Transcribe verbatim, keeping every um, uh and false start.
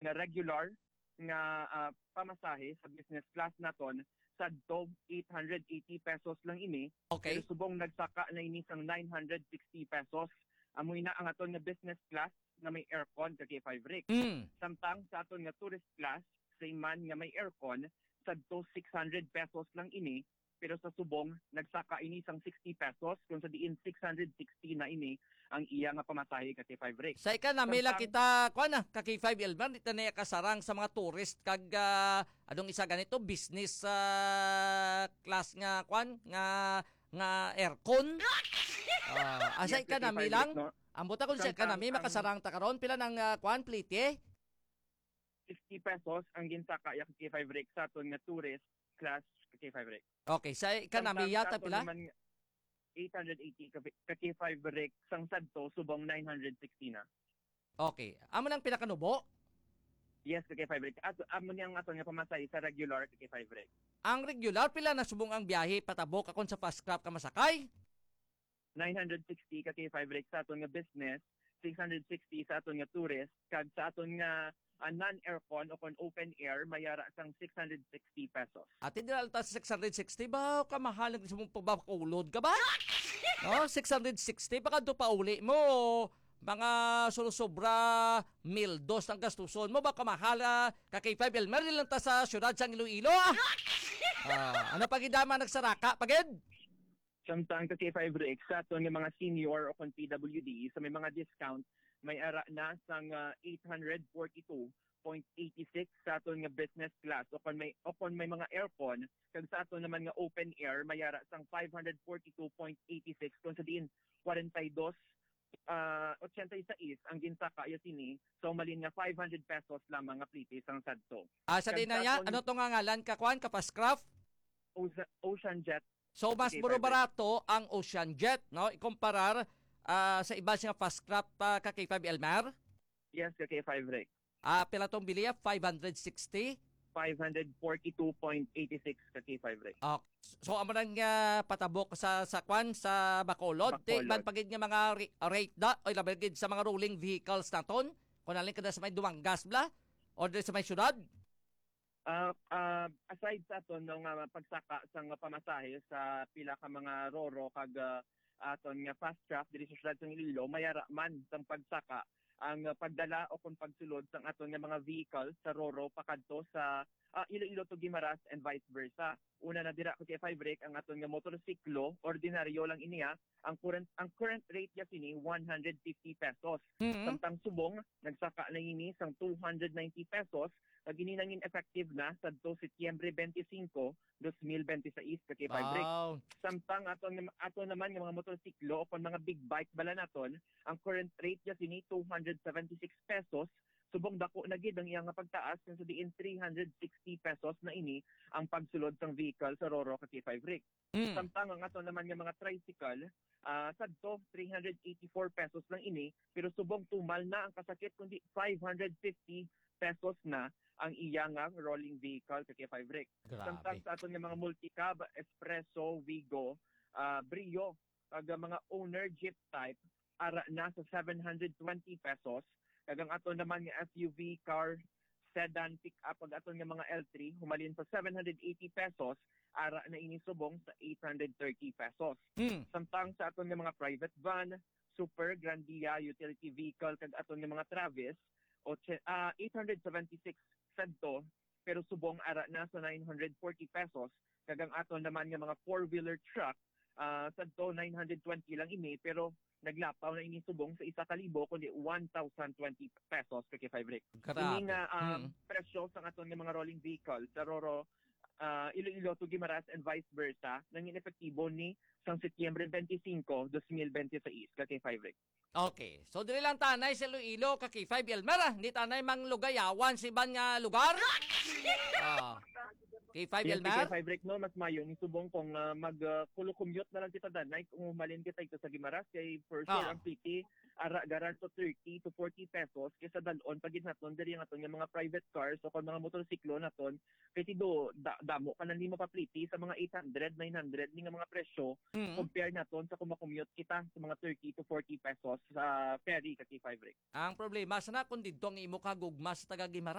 nga regular nga, ah, pamasahe sa business class naton, sadto eight hundred eighty pesos lang ini, Okay. pero subong nagsaka na ini sang nine hundred sixty pesos. Amo ina ang aton nga business class nga may aircon ka K five Rick. Mm. Samtang sa aton nga tourist class, same man nga may aircon, sadto six hundred pesos lang ini, pero sa subong nagsaka ini sang sixty pesos, kung sa diin six hundred sixty na ini ang iya nga pamasahe ka K five Rick. Sa economy lang Samtang kita, kuan na, ka K five Elmer, di ta na kasarang sa mga tourist kag, ah, anong isa ganito, business, ah, class nga, kuan, nga, nga aircon. Ah, asa Yes, ka economy K five lang? Rick, no? Ang buta kung sa Samtang economy, ang makasarang ta karon, pila nang, ah, kuan, plite? Sixty pesos ang ginsaka ya ka K five Rick sa aton nga tourist class ka K five Rick. Okay, sa economy Samtang yata sa aton pila? naman, eight hundred eighty ka, ka K five Rick sang sadto subong nine hundred sixty na. Okay. Amo nang pinakanubo? Yes, ka K five Rick. At amo niyang aton nga pamasahe sa regular ka K five Rick. Ang regular, pila na subong ang biyahe patabok akon sa fast craft ka masakay? Nine hundred sixty ka K five Rick sa aton nga business, six hundred sixty sa aton nga tourist, kag sa aton nga, ah, non-aircon o kon open air, mayara sang six hundred sixty pesos. Ati dira ta sa six hundred sixty ba? Kamahal ang sa mong pagbakulod ka ba? No? Six hundred sixty, baka doon pa uli mo. Mga sulusubra, mil dos ang gastuson mo. Baka mahal, ah, ka K five Elmer, di lang ta sa syudad sang Iloilo, ah. Ah, ano pa gid, ama, nagsaraka pa gid? Samtang ka K five Rick, sa aton nga mga senior o kon P W D, sa may mga discount, may ara na sang, ah, eight hundred forty-two point eighty-six sa aton nga business class o kon may, o kon may mga aircon, kag sa aton naman nga open air, may ara sang five hundred forty-two point eighty-six, kung sa diin forty-dos, ah, ochenta y seis ang ginsaka ya sini, sa umalin nga five hundred pesos lamang nga plite sang sadto. Ah, sa Kag diin na sa niya, aton ano to nga ngalan ka, kuan, ka fast craft? Oce-, Ocean Jet. So, mas Okay, mura perfect. barato ang Ocean Jet, no? Ikumparar, ah, sa iba nga fast craft, ah, ka K five Elmer? Yes, ka K five Rick. Ah, pila tong biliya? Five hundred sixty? Five hundred forty-two point eighty-six ka K five Rick. Okay. So, amo nang, ah, patabok sa, sa kwan, sa Bacolod. Di Bacolod. man pagid nga mga re-, rate da, oy, labi gid sa mga rolling vehicles naton. Kung alin ka na sa may Dumangas, bla? Or di sa may syudad? Ah, ah, aside sa aton, no, nga pagsaka sang pamasahe sa pila ka mga roro kag, ah, aton nga fast craft diri sa siyudad sang Iloilo, mayara man sang pagsaka ang, ah, pagdala o kon pagsulod sang aton nga mga vehicle sa roro pakadto sa, ah, Iloilo to Guimaras and vice versa. Una na dira, ka K five Rick, ang aton nga motorsiklo, ordinaryo lang ini, ah, ang current, ang current rate niya sini, one hundred fifty pesos. Mhm. Samtang subong, nagsaka na ini sang two hundred ninety pesos, kag ini nangin effective na sadto Setyembre twenty-five, dos mil bente sais, ka K five Rick. Wow. Samtang ato, ato naman nga mga motorsiklo o kon mga big bike bala naton, ang current rate niya sini two hundred seventy-six pesos, subong dako na gid ang iya nga pagtaas, kung sa diin three hundred sixty pesos na ini ang pagsulod sang vehicle sa roro, ka K five Rick. Mm. Samtang ang ato naman nga mga tricycle, ah, sadto, three hundred eighty-four pesos lang ini, pero subong tumal na ang kasakit, kundi five hundred fifty pesos na ang iya nga rolling vehicle, ka K five Rick. Grabe. Samtang sa aton nga mga multicab, Espresso, Wigo, ah, Brio, kag mga owner jeep type, ara na sa seven hundred twenty pesos, kag ang aton naman nga S U V, car, sedan, pick-up, kag aton nga mga L three, humalin sa seven hundred eighty pesos, ara na ini subong sa eight hundred thirty pesos. Hmm. Samtang sa aton nga mga private van, super, Grandia, utility vehicle, kag aton nga mga Travis, o, ah, eight hundred seventy-six sadto, pero subong ara na sa nine hundred forty pesos, kag ang aton naman nga mga four-wheeler truck, ah, sadto nine hundred twenty lang ini, pero naglapaw na ini subong sa isa ka libo, kundi one thousand twenty pesos, ka K five Rick. Grabe. Ini nga, ah, Mm. presyo sa aton nga mga rolling vehicle sa roro, ah, Iloilo to Guimaras and vice versa, nangin epektibo ni sang Setyembre twenty-five, dos mil bente sais, ka K five Rick. Okay. So, diri lang tanay sa Iloilo, ka K five Elmer, ah. Hindi tanay mang lugayawan sa iban nga lugar. Ah. K five, Yes, Elmer? K five, Rick, no, mas mayo ni subong kung ah, mag ah, kulo-commute na lang kita danay kung umalin kita ito sa Gimaras kay for sure Ah. ang pliti ara garan to thirty to forty pesos kaysa dalon pag naton diri ang aton nga mga private cars o kung mga motorsiklo naton kay tido da, damo ka na ni mapapliti sa mga eight hundred, nine hundred ni nga mga presyo Mm. compare naton sa kung makommute kita sa mga thirty to forty pesos sa ferry ka K five, Rick. Ang problema, sana kung didto ang imo kagugma sa taga Guimaras,